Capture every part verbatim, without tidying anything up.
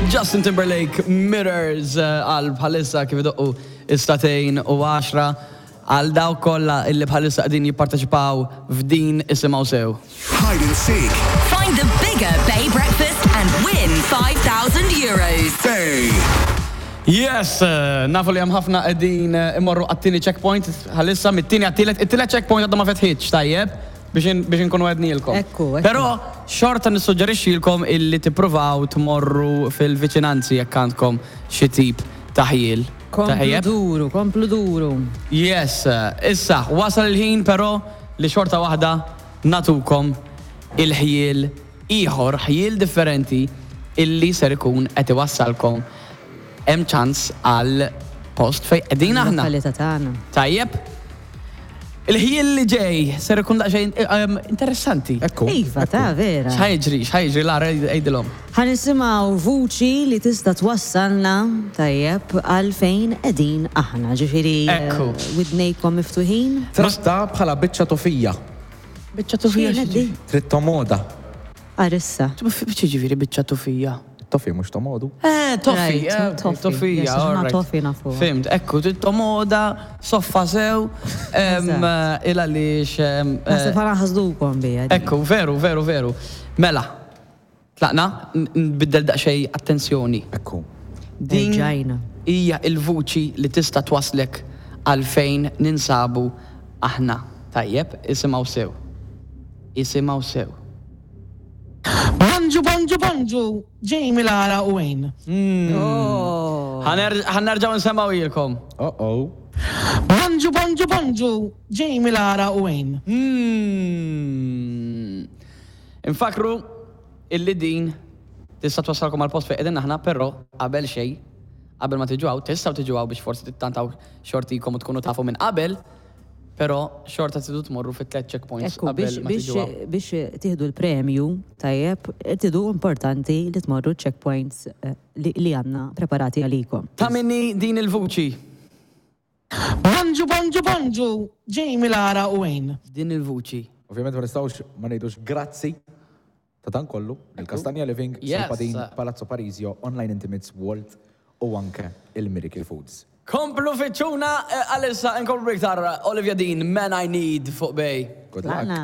Justin Timberlake, Mirrors, eh, għal bħalissa kif idoqqu is-sagħtejn u għaxra għal dawk kollha illi bħalissa qegħdin jipparteċipaw f'din, isimgħu sew. Hide and seek. Find the bigger Bay Breakfast and win five thousand euros. Bay. Yes, eh, nafu li hemm ħafna qegħdin eh, imorru għat-tieni checkpoint bħalissa, mit-tieni għat-tielet, it-tielet checkpoint għadha ma fetħitx, tajjeb, biex in- biex inkunu għednielkom. Ekku, ekku. Però xorta nissuġġerixxilkom illi tippruvaw tmorru fil-viċinanzi jekk għandkom xi tip ta' ħjiel. Komplu Tajjeb? duru, komplu duru. Yes, eh, issa, wasal il-ħin però li xorta waħda nagħtukom il-ħjiel ieħor, ħjiel differenti illi ser ikun qed iwassalkom hemm ċans għal post fej qegħdin aħna. Lokalità tagħna. Tajjeb? Il-ħjiel li ġej ser ikun daqsxejn eh, em, interessanti. Ekku. Iva, ta' vera. X'ħa jiġri, x'ħa jiġri, Lara, għidilhom? Ħa nisimgħu vuċi li tista' twassalna, tajjeb, għal fejn qegħdin aħna. Ġifieri eh, Ekku. widnejkom miftuħin. Tratta bħala biċċa tofija. Biċċa tufija. X'kienet di? Trid tomoda. Arissa. Biċċa ġifieri biċċa tufija. Tofi mhux tomodu. Eh, toffi, Right, eh, toffi. Toffija, Yes, aħna alright. toffi nafu. Fhimt, ekku, tomoda, soffa sew, em, Eżatt. il għaliex. em, eh, Naħseb ħana ħasdukom bija. Ekku, veru, veru, veru. Mela, tlaqna, n- nbiddel daqsxejn attenzjoni. Ekku. Din Erġajna. hija il-vuċi li tista' twaslek għal fejn ninsabu aħna. Tajjeb, isimgħu sew. Isimgħu sew. Bonġu, bonġu, bonġu, Jamie, Lara u Wayne. Oh. Ħa nerġgħu nsemmgħuhielkom. Oh oh. Bonġu, bonġu, bonġu, Jamie, Lara u Wayne. Mm. Infakru illi din tista' twassalkom għal post fejn qegħdin aħna, però qabel xejn, qabel ma tiġu hawn, tistgħu tiġu hawn biex forsi tittantaw xortikom u tkunu tafu minn qabel, però xorta tridu tmorru fit tliet checkpoints Ekku, qabel biex, ma tiġu hawn. biex, biex tieħdu l-premju, tajjeb, tidu importanti li tmorru checkpoints eh, li, li għandna preparati għalikom. Ta' minni din il-vuċi? Bonġu, bonġu, bonġu, Jamie, Lara u Wayne. Din il-vuċi. Ovvjament ma nistgħux ma ngħidux grazzi ta' dan kollu il-Kastanja Living, Yes. Solpadin, Palazzo Parisio, Online Intimates, Walt u anke il-Miracle Foods. Komplu fittxuna eh, għalissa nkomplu iktar Olivia Dean, Man I Need fuq Bay. Good luck. Tlaqna.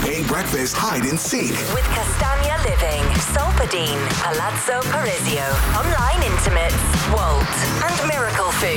Bay Breakfast Hide and Seek. With Castagna Living, Solpadine, Palazzo Parisio, Online Intimates, Walt, and Miracle Food.